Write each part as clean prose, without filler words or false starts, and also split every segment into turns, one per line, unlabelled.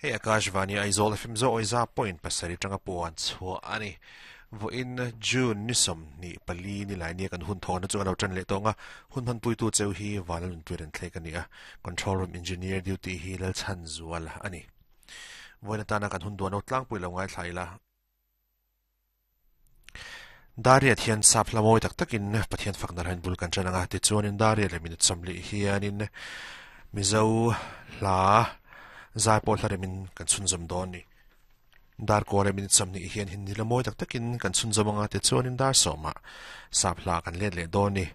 Hei Akashvani Aizawl FM Zawiza point pasarih atanga puan chhuah a ni. Vawiin June ni 24 ni lai nia kan hun thawhna chu a lo tan leh tawng a, hun hmanpuitu cheu hi Vanlalnunpuia rawn thlek a ni a, Control Room Engineer duty hi Lalchhanzual a ni. Vawiin atana kan hun duan lo tlangpui lo ngaithla ila. Dariat hian sap hla mawi tak takin Pathian fakna hlain bul kan ṭan ang a, tichuanin Dariat leh minute 40 hianin Mizo hla zai pawh hla remin kan chhunzawm dawn a ni. Dar kaw leh minute 20 hian Hindi hla mawi tak takin kan chhunzawm ang a, tichuanin dar sawmah sap hla kan let leh dawn a ni.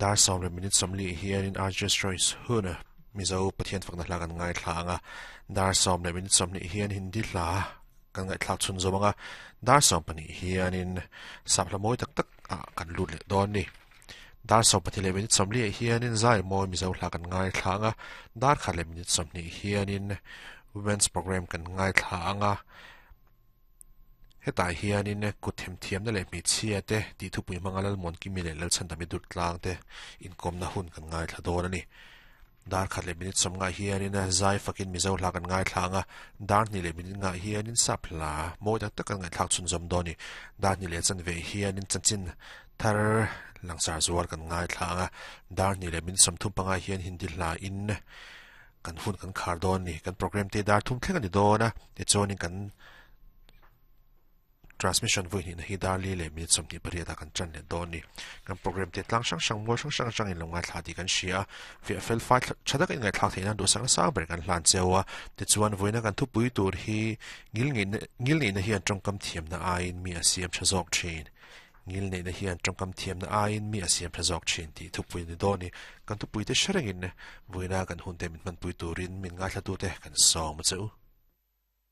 Dar sawm leh minute 40 hianin RJ's Choice hun Mizo Pathian fakna hla kan ngaithla ang a, dar sawm leh minute 20 hian Hindi hla Kan ngaihthlak chhun zawm anga dar 12 hianin sap hla mawi tak tak ah kan lut leh dawn a ni. Dar 12 leh minute 40 ah hianin zai mawi Mizo hla kan ngaithla anga dar khat leh minute 20 hianin Women's Programme kan ngaithla anga hetah hianin kut themthiamna leh hmeichhia te tih thupui hmanga Lalmuankimi leh Lalchhandami Durtlang te inkawmna hun kan ngaithla dawn a ni. Dar khat leh minute 50 hianin zai fakin Mizo hla kan ngaithla ang a, dar hnih leh minute ngah hianin sap hla mawi tak tak kan ngaihthlak chhunzawm dawn a ni. Dar hnih leh chanve hianin chanchin thar langsar zual kan ngaithla ang a, dar hnih leh minute 35 hian Hindi hla in kan hun kan khar dawn a ni. Kan programme te dar thum thleng a ni dawn a, tichuanin kan Transmission vawi hnihna hi dar li leh minute 28 ah kan tan leh dawn a ni. Kan programme te tlang hrang hrang, mual hrang hrang atangin lo ngaithla tih kan hria a, fiah fel fai tha taka inngaihthlak theih nan duhsak nasa ber kan hlan cheu a. Tichuan, vawiina kan thupui tur hi ngilngeihna ngilneihna hian tawngkam thiamna aiin mi a siam tha zawk thin. Ngilneihna hian tawngkam thiamna aiin mi a siam tha zawk thin tih thupui a ni dawn a ni. Kan thupui te hre rengin vawiina kan hunte min hmanpui turin min ngaithlatute kan sawm a che u.